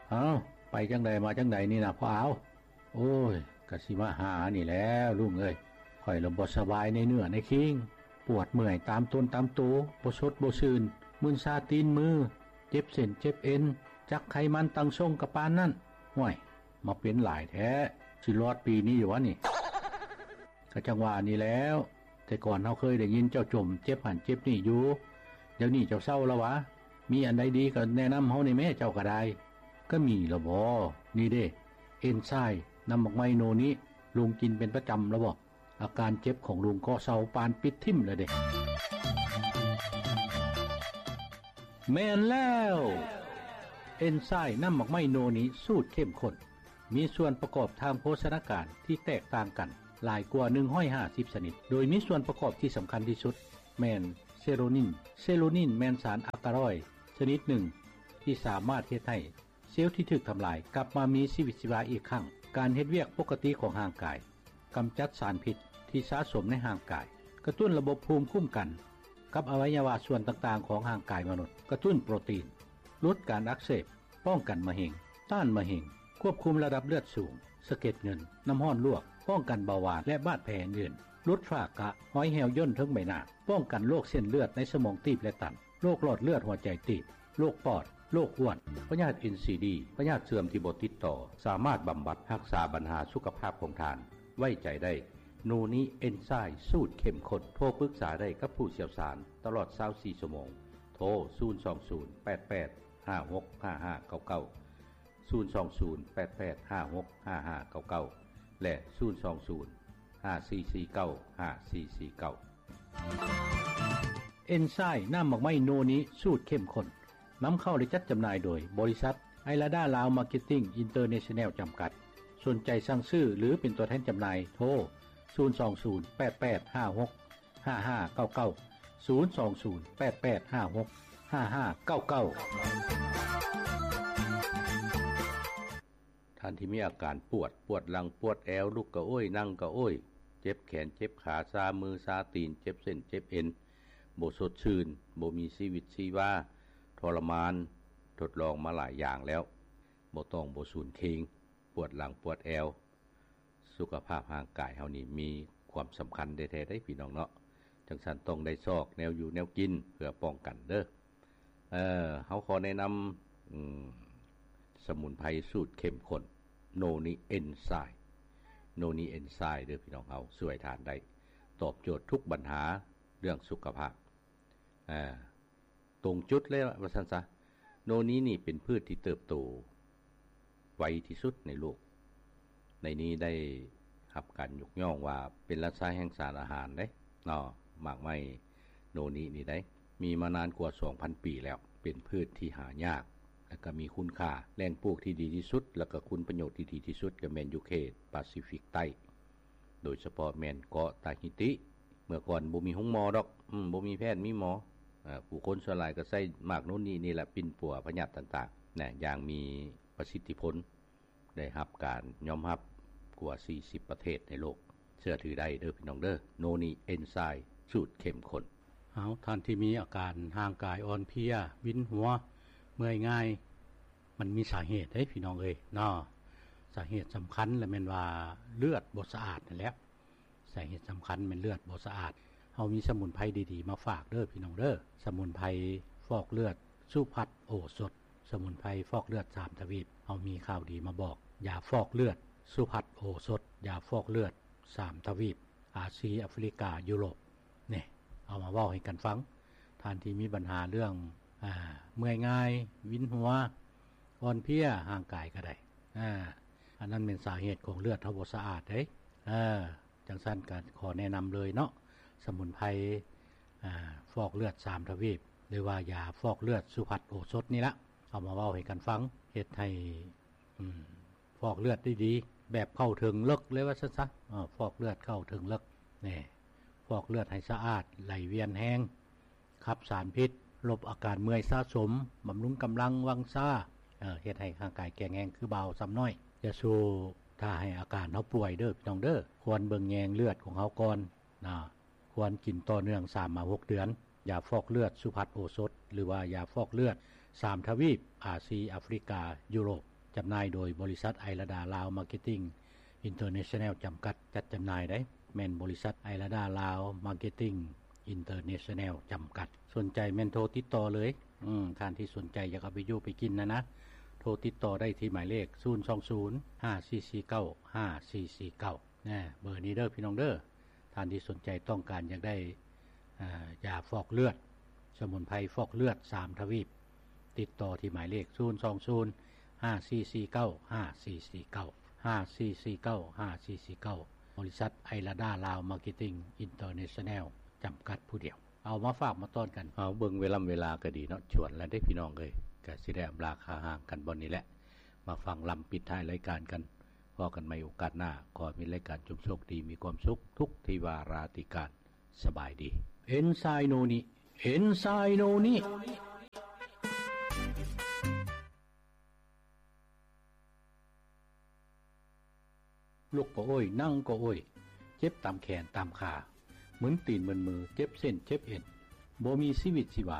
ເອົ້າ, ໄປຈັ່ງໃດມາຈັ່ງໃດນີ້ນະພໍ່ອາວ? ໂອ້ຍ, ກະຊິມາຫານີ້ແຫຼ້ວລຸງເອີຍ. ຂ້ອຍລະບໍ່ສະບາຍໃນເນື້ອໃນຄີງ, ປວດເມື່ອຍຕາມຕົນຕາມໂຕ, ບໍ່ສົດບໍ່ຊື່ນ, ມຶນຊາຕີນມື, ເຈັບເສັ້ນເຈັບເອັນ, ຈັກໄຂມັນຕັ້ງຊົງກະປານນັ້ນ. ຫ້ວຍ, ມາເປັນຫຼາຍແທ້, ຊິລອດປີນີ້ຢູ່ຫວານີ້? ກະຈັ່ງວ່ານີ້ແຫຼ້ວ, ແຕ່ກ່ອນເຮົາເຄີຍໄດ້ຍິນເຈົ້າຈົ່ມເຈັບຫັ້ນເຈັບນີ້ຢູ່, ດຽວນີ້ເຈົ້າເຊົາລະຫວາ? ມີອັນໃດດີກະແນະນຳເຮົາແດ່ແມ້, ເຈົ້າກະໄດ້. ກະມີລະບໍ? ນີ້ເດ້, ເອັນໄຊ ນ້ຳໝາກໄມ້ໂນນິ, ລຸງກິນເປັນປະຈຳລະບໍ? ອາການເຈັບຂອງລຸງກໍເຊົາປານປິດຖິ້ມລະເດ້. ແມ່ນແລ້ວ! ເອັນໄຊ ນ້ຳໝາກໄມ້ໂນນິ ສູດເຂັ້ມຂຸ້ນ ມີສ່ວນປະກອບທາງໂພຊະນາການທີ່ແຕກຕ່າງກັນຫຼາຍກວ່າໜຶ່ງຮ້ອຍຫ້າສິບຊະນິດ, ໂດຍມີສ່ວນປະກອບທີ່ສຳຄັນທີ່ສຸດແມ່ນເຊໂຣນິນ. ເຊໂຣນິນແມ່ນສານອາກາຣອຍຊະນິດໜຶ່ງທີ່ສາມາດເຮັດໃຫ້ເຊວທີ່ຖືກທຳລາຍກັບມາມີຊີວິດຊີວາອີກຄັ້ງ, ການເຮັດວຽກປົກກະຕິຂອງຮ່າງກາຍ, ກຳຈັດສານພິດທີ່ສະສົມໃນຮ່າງກາຍ, ກະຕຸ້ນລະບົບພູມຄຸ້ມກັນກັບອະໄວຍະວະສ່ວນຕ່າງໆຂອງຮ່າງກາຍມະນຸດ, ກະຕຸ້ນໂປຣຕີນ, ຫຼຸດການອັກເສບ, ປ້ອງກັນມະເຮັງ, ຕ້ານມະເຮັງ, ຄວບຄຸມລະດັບເລືອດສູງ, ສະເກັດເງິນ, ນ້ຳຮ້ອນລວກ, ປ້ອງກັນເບົາຫວານ ແລະ ບາດແຜອື່ນໆ, ຫຼຸດຝ້າກະ, ຮອຍແຫ້ວຍ່ນເທິງໃບໜ້າ, ປ້ອງກັນໂລກເສັ້ນເລືອດໃນສະໝອງຕີບ ແລະ ຕັນ, ໂລກຫຼອດເລືອດຫົວໃຈຕີບ, ໂລກປອດ, ໂລກອ້ວນ, ພະຍາດເອັນຊີດີ, ພະຍາດເສື່ອມທີ່ບໍ່ຕິດຕໍ່, ສາມາດບຳບັດຮັກສາບັນຫາສຸຂະພາບຂອງທ່ານ. ໄວ້ໃຈໄດ້ ໂນນິເອັນໄຊ ສູດເຂັ້ມຂຸ້ນ. ໂທປຶກສາໄດ້ກັບຜູ້ຊ່ຽວຊານຕະຫຼອດຊາວສີ່ຊົ່ວໂມງ. ໂທ ສູນສອງສູນ ແປດແປດ ຫ້າຫົກ ຫ້າຫ້າເກົ້າເກົ້າ, ສູນສອງສູນ ແປດແປດ ຫ້າຫົກ ຫ້າຫ້າເກົ້າເກົ້າ ແລະ ສູນສອງສູນ ຫ້າສີ່ສີ່ເກົ້າ ຫ້າສີ່ສີ່ເກົ້າ. ເອັນໄຊ ນ້ຳໝາກໄມ້ໂນນິ ສູດເຂັ້ມຂຸ້ນ. ນຳເຂົ້າ ແລະ ຈັດຈຳໜ່າຍໂດຍ ບໍລິສັດ ໄອລາດາ ລາວ ມາເກັດຕິ້ງ ອິນເຕີເນຊັນແນວ ຈຳກັດ. ສົນໃຈສັ່ງຊື້ ຫຼື ເປັນຕົວແທນຈຳໜ່າຍ ໂທ ສູນສອງສູນ ແປດແປດ ຫ້າຫົກ ຫ້າຫ້າເກົ້າເກົ້າ, ສູນສອງສູນ ແປດແປດ ຫ້າຫົກ ຫ້າຫ້າເກົ້າເກົ້າ. ທ່ານທີ່ມີອາການປວດ, ປວດຫຼັງ, ປວດແອວ, ລຸກກະໂອ້ຍ, ນັ່ງກະໂອ້ຍ, ເຈັບແຂນ, ເຈັບຂາ, ຊາມື, ຊາຕີນ, ເຈັບເສັ້ນ, ເຈັບເອັນ, ບໍ່ສົດຊື່ນ, ບໍ່ມີຊີວິດຊີວາ, ທໍລະມານ, ທົດລອງມາຫຼາຍຢ່າງແລ້ວ, ບໍ່ຕ້ອງບໍ່ສູນເຄງ, ປວດຫຼັງ, ປວດແອວ, ສຸຂະພາບຮ່າງກາຍເຮົານີ້ມີຄວາມສຳຄັນແທ້ໆເດ້ພີ່ນ້ອງເນາະ. ຈັ່ງຊັ້ນຕ້ອງໄດ້ຊອກແນວຢູ່ແນວກິນເພື່ອປ້ອງກັນເດີ. ເອີ ເຮົາຂໍແນະນຳ ອືມ ສະໝຸນໄພສູດເຂັ້ມຂຸ້ນ ໂນນິເອັນໄຊ, ໂນນິເອັນໄຊເດີພີ່ນ້ອງເຮົາ, ຊ່ວຍທ່ານໄດ້ຕອບໂຈດທຸກບັນຫາເລື່ອງສຸຂະພາບ. ອາ ຕົງຈຸດເລີຍວ່າຊັ້ນຊະ. ໂນນິນີ້ເປັນພືດທີ່ເຕີບໂຕໄວທີ່ສຸດໃນໂລກ. ໃນນີ້ໄດ້ຮັບການຍົກຍ້ອງວ່າເປັນລາຊາແຫ່ງສານອາຫານເດ້ເນາະ, ໝາກໄມ້ໂນນິນີ້ໄດ້ມີມານານກວ່າສອງພັນປີແລ້ວ. ເປັນພືດທີ່ຫາຍາກ ແລະ ກໍມີຄຸນຄ່າ. ແຫຼ່ງປູກທີ່ດີທີ່ສຸດ ແລະ ກໍຄຸນປະໂຫຍດທີ່ດີທີ່ສຸດກໍແມ່ນຢູ່ເຂດປາຊີຟິກໃຕ້. ໂດຍສະເພາະແມ່ນເກາະຕາຮິຕິ. ເມື່ອກ່ອນບໍ່ມີໂຮງໝໍດອກ, ອືມ, ບໍ່ມີແພດມີໝໍ. ເອີ, ຜູ້ຄົນສ່ວນຫຼາຍກໍໃຊ້ໝາກໂນນນີ້ນີ້ແຫຼະປິ່ນປົວພະຍາດຕ່າງໆນະ, ຢ່າງມີປະສິດທິຜົນ, ໄດ້ຮັບການຍອມຮັບກວ່າສີ່ສິບປະເທດໃນໂລກ. ເຊື່ອຖືໄດ້ເດີພີ່ນ້ອງເດີ, ໂນນີ້ເອັນໄຊສູດເຂັ້ມຂຸ້ນ. ເອົາ, ທ່ານທີ່ມີອາການຮ່າງກາຍອ່ອນເພຍ, ວິນຫົວ, ເມື່ອຍງ່າຍ, ມັນມີສາເຫດເດ້ພີ່ນ້ອງເອີຍເນາະ. ສາເຫດສຳຄັນລະແມ່ນວ່າເລືອດບໍ່ສະອາດນັ້ນແຫຼະ. ສາເຫດສຳຄັນແມ່ນເລືອດບໍ່ສະອາດ. ເຮົາມີສະໝຸນໄພດີໆມາຝາກເດີພີ່ນ້ອງເດີ. ສະໝຸນໄພຟອກເລືອດສຸພັດໂອສົດ. ສະໝຸນໄພຟອກເລືອດສາມທະວີບ. ເຮົາມີຂ່າວດີມາບອກ. ຢາຟອກເລືອດສຸພັດໂອສົດ. ຢາຟອກເລືອດສາມທະວີບ. ອາຊີ, ອາຟຣິກາ, ຢູໂຣບ. ນີ້ ເອົາມາເວົ້າໃຫ້ກັນຟັງ. ທ່ານທີ່ມີບັນຫາເລື່ອງ ອາ ເມື່ອຍງ່າຍ, ວິນຫົວ, ອ່ອນເພຍ, ຮ່າງກາຍກໍໄດ້. ອາ ອັນນັ້ນແມ່ນສາເຫດຂອງເລືອດເຮົາບໍ່ສະອາດເດ້. ເອີ ຈັ່ງຊັ້ນກໍຂໍແນະນຳເລີຍເນາະ, ສະໝຸນໄພ ອາ ຟອກເລືອດສາມທະວີບ ຫຼືວ່າຢາຟອກເລືອດສຸພັດໂອສົດນີ້ລະ. ເອົາມາເວົ້າໃຫ້ກັນຟັງ, ເຮັດໃຫ້ ອືມ ຟອກເລືອດໄດ້ດີ ແບບເຂົ້າເຖິງເລິກເລີຍວ່າຊັ້ນຊະ. ເອີ ຟອກເລືອດເຂົ້າເຖິງເລິກ. ນີ້ ຟອກເລືອດໃຫ້ສະອາດ, ໄຫຼວຽນແຮງ, ຂັບສານພິດ, ລົບອາການເມື່ອຍສະສົມ, ບຳລຸງກຳລັງວັງຊາ, ເອີ ເຮັດໃຫ້ຮ່າງກາຍແຂງແຮງຄືບ່າວຊຳນ້ອຍ. ຢ່າສູ່ຖ້າໃຫ້ອາການເຮົາປ່ວຍເດີພີ່ນ້ອງເດີ. ຄວນເບິ່ງແຍງເລືອດຂອງເຮົາກ່ອນນະ. ຄວນກິນຕໍ່ເນື່ອງສາມມາຫົກເດືອນ. ຢາຟອກເລືອດສຸພັດໂອສົດ ຫຼືວ່າຢາຟອກເລືອດສາມທະວີບ, ອາຊີ, ອາຟຣິກາ, ຢູໂຣບ. ຈຳໜ່າຍໂດຍບໍລິສັດໄອລາດາລາວມາເກັດຕິງອິນເຕີເນຊັນແນວຈຳກັດ ຈັດຈຳໜ່າຍໄດ໋ ແມ່ນບໍລິສັດໄອລາດາລາວມາເກັດຕິງອິນເຕີເນຊັນແນວຈຳກັດ. ສົນໃຈແມ່ນໂທຕິດຕໍ່ເລີຍ. ອືມ ທ່ານທີ່ສົນໃຈຢາກເອົາໄປຢູ່ໄປກິນນະນະ ໂທຕິດຕໍ່ໄດ້ທີ່ໝາຍເລກ ສູນສອງສູນ ຫ້າສີ່ສີ່ເກົ້າ ຫ້າສີ່ສີ່ເກົ້າ ນະ ເບີນີ້ເດີພີ່ນ້ອງເດີ. ທ່ານທີ່ສົນໃຈຕ້ອງການຢາກໄດ້ ອາ ຢາຟອກເລືອດ ສະໝຸນໄພຟອກເລືອດສາມທະວີບ ຕິດຕໍ່ທີ່ໝາຍເລກ ສູນສອງສູນ ຫ້າສີ່ສີ່ເກົ້າ ຫ້າສີ່ສີ່ເກົ້າ ຫ້າສີ່ສີ່ເກົ້າ ຫ້າສີ່ສີ່ເກົ້າ ບໍລິສັດໄອລາດາລາວມາເກັດຕິງອິນເຕີເນຊັນແນວຈຳກັດຜູ້ດຽວ. ເອົາມາຝາກມາຕ້ອນກັນ. ເອົາເບິ່ງເວລາ ເວລາກໍດີເນາະ ຊວນແລ້ວເດ້ພີ່ນ້ອງເອີຍ. ກໍຊິໄດ້ອຳລາຄາຮ່າງກັນບ່ອນນີ້ແຫຼະ ມາຟັງລຳປິດທ້າຍລາຍການກັນ. ພໍ້ກັນໃໝ່ໂອກາດໜ້າ. ຂໍໃຫ້ມີລາຍການຊົມໂຊກດີ ມີຄວາມສຸກທຸກທີ່ວາລາທິການ. ສະບາຍດີ. ເອັນໄຊໂນນິ ເອັນໄຊໂນນິ. ລຸກກໍໂອຍ ນັ່ງກໍໂອຍ ເຈັບຕາມແຂນຕາມຂາ ມຶນຕີນມຶນມື ເຈັບເສັ້ນເຈັບເອັນ ບໍ່ມີຊີວິດຊີວາ.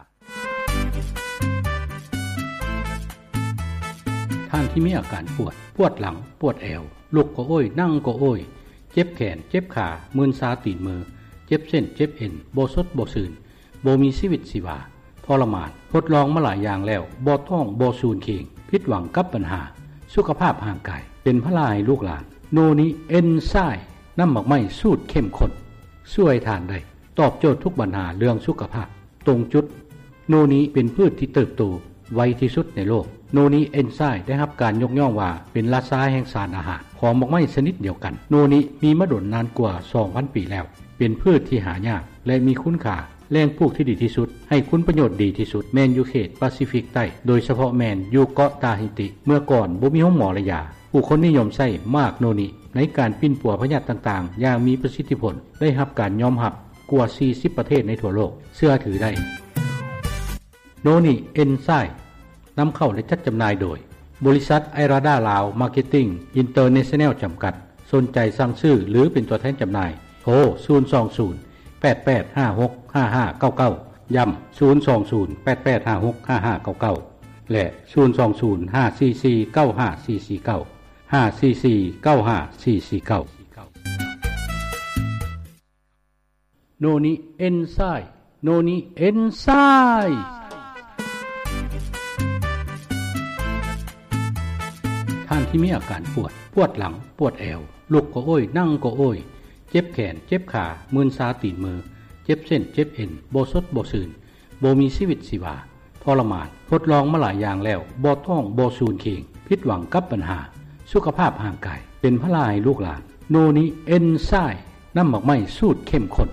ທ່ານທີ່ມີອາການປວດ ປວດຫຼັງ ປວດແອວ ລຸກກໍໂອຍ ນັ່ງກໍໂອຍ ເຈັບແຂນເຈັບຂາ ມື່ນຊາຕີນມື ເຈັບເສັ້ນເຈັບເອັນ ບໍ່ສົດບໍ່ຊື່ນ ບໍ່ມີຊີວິດຊີວາ ທໍລະມານ ທົດລອງມາຫຼາຍຢ່າງແລ້ວ ບໍ່ທ້ອງ ບໍ່ສູນເຄງ ຜິດຫວັງກັບບັນຫາສຸຂະພາບຮ່າງກາຍ ເປັນພາລະໃຫ້ລູກຫຼານ. ໂນນິເອັນໄຊ ນ້ຳໝາກໄມ້ສູດເຂັ້ມຂຸ້ນ ຊ່ວຍທ່ານໄດ້ ຕອບໂຈດທຸກບັນຫາເລື່ອງສຸຂະພາບ ຕົງຈຸດ. ໂນນິເປັນພືດທີ່ເຕີບໂຕໄວທີ່ສຸດໃນໂລກ. ໂນນິເອັນໄຊໄດ້ຮັບການຍົກຍ້ອງວ່າເປັນລາຊາແຫ່ງສານອາຫານຂອງໝາກໄມ້ຊະນິດດຽວກັນ. ໂນນິມີມາດົນນານກວ່າສອງພັນປີແລ້ວ. ເປັນພືດທີ່ຫາຍາກ ແລະ ມີຄຸນຄ່າ. ແຫຼ່ງປູກທີ່ດີທີ່ສຸດ ໃຫ້ຄຸນປະໂຫຍດດີທີ່ສຸດ ແມ່ນຢູ່ເຂດປາຊີຟິກໃຕ້ ໂດຍສະເພາະແມ່ນຢູ່ເກາະຕາຮິຕິ. ເມື່ອກ່ອນບໍ່ມີໂຮງໝໍ ແລະ ຢາ, ຜູ້ຄົນນິຍົມໃຊ້ໝາກໂນນິໃນການປິ່ນປົວພະຍາດຕ່າງໆຢ່າງມີປະສິດທິຜົນ, ໄດ້ຮັບການຍອມຮັບກວ່າສີ່ສິບປະເທດໃນທົ່ວໂລກເຊື່ອຖືໄດ້. ໂນນິເອັນໄຊ ນຳເຂົ້າ ແລະ ຈັດຈຳໜ່າຍໂດຍ ບໍລິສັດໄອລາດາລາວມາເກັດຕິງອິນເຕີເນຊັນແນວຈຳກັດ. ສົນໃຈສັ່ງຊື້ ຫຼື ເປັນຕົວແທນຈຳໜ່າຍ ໂທ ສູນສອງສູນ ແປດແປດຫ້າຫົກຫ້າຫ້າເກົ້າເກົ້າ ຢ້ຳ ສູນສອງສູນ ແປດແປດຫ້າຫົກຫ້າຫ້າເກົ້າເກົ້າ ແລະ ສູນສອງສູນ ຫ້າສີ່ສີ່ເກົ້າຫ້າສີ່ສີ່ເກົ້າ ຫ້າສີ່ສີ່ເກົ້າຫ້າສີ່ສີ່ເກົ້າ. ໂນນິເອັນໄຊ ໂນນິເອັນໄຊ. ທ່ານທີ່ມີອາການປວດ, ປວດຫຼັງ, ປວດແອວ, ລຸກກໍໂອຍ, ນັ່ງກໍໂອຍ, ເຈັບແຂນ, ເຈັບຂາ, ມື່ນຊາຕີນມື, ເຈັບເສັ້ນ, ເຈັບເອັນ, ບໍ່ສົດ, ບໍ່ຊື່ນ, ບໍ່ມີຊີວິດຊີວາ, ທໍລະມານ, ທົດລອງມາຫຼາຍຢ່າງແລ້ວ, ບໍ່ທ້ອງ, ບໍ່ສູນເຄງ, ຜິດຫວັງກັບບັນຫາສຸຂະພາບຮ່າງກາຍ, ເປັນພາລະໃຫ້ລູກຫຼານ, ໂນນິເອັນໄຊ ນ້ຳໝາກໄມ້ສູດເຂັ້ມຂຸ້ນ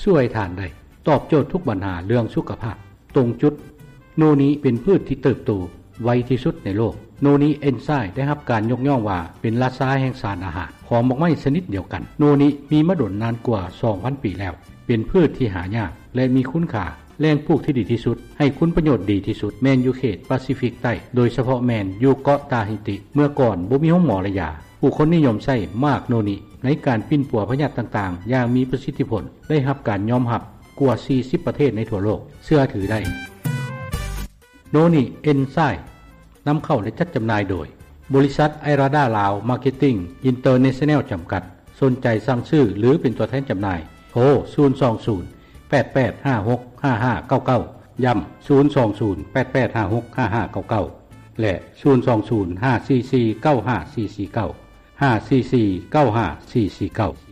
ຊ່ວຍທ່ານໄດ້ ຕອບໂຈດທຸກບັນຫາເລື່ອງສຸຂະພາບ ຕົງຈຸດ. ໂນນິເປັນພືດທີ່ເຕີບໂຕໄວທີ່ສຸດໃນໂລກ. ໂນນິເອັນໄຊໄດ້ຮັບການຍົກຍ້ອງວ່າເປັນລາຊາແຫ່ງສານອາຫານຂອງໝາກໄມ້ຊະນິດດຽວກັນ. ໂນນິມີມາດົນນານກວ່າສອງພັນປີແລ້ວ. ເປັນພືດທີ່ຫາຍາກ ແລະ ມີຄຸນຄ່າ. ແຫຼ່ງປູກທີ່ດີທີ່ສຸດ, ໃຫ້ຄຸນປະໂຫຍດດີທີ່ສຸດ ແມ່ນຢູ່ເຂດປາຊີຟິກໃຕ້, ໂດຍສະເພາະແມ່ນຢູ່ເກາະຕາຮິຕິ. ເມື່ອກ່ອນບໍ່ມີໂຮງໝໍ ແລະ ຢາ, ຜູ້ຄົນນິຍົມໃຊ້ໝາກໂນນິໃນການປິ່ນປົວພະຍາດຕ່າງໆຢ່າງມີປະສິດທິຜົນ, ໄດ້ຮັບການຍອມຮັບກວ່າສີ່ສິບປະເທດໃນທົ່ວໂລກເຊື່ອຖືໄດ້. ໂນນິເອັນໄຊ ນຳເຂົ້າ ແລະ ຈັດຈຳໜ່າຍໂດຍ ບໍລິສັດໄອລາດາລາວມາເກັດຕິງອິນເຕີເນຊັນແນວຈຳກັດ. ສົນໃຈສັ່ງຊື້ ຫຼື ເປັນຕົວແທນຈຳໜ່າຍ ໂທ ສູນສອງສູນ ແປດແປດຫ້າຫົກຫ້າຫ້າເກົ້າເກົ້າ ຢ້ຳ ສູນສອງສູນ ແປດແປດຫ້າຫົກຫ້າຫ້າເກົ້າເກົ້າ ແລະ ສູນສອງສູນ ຫ້າສີ່ສີ່ເກົ້າຫ້າສີ່ສີ່ເກົ້າ ຫ້າສີ່ສີ່ເກົ້າຫ້າສີ່ສີ່ເກົ້າ.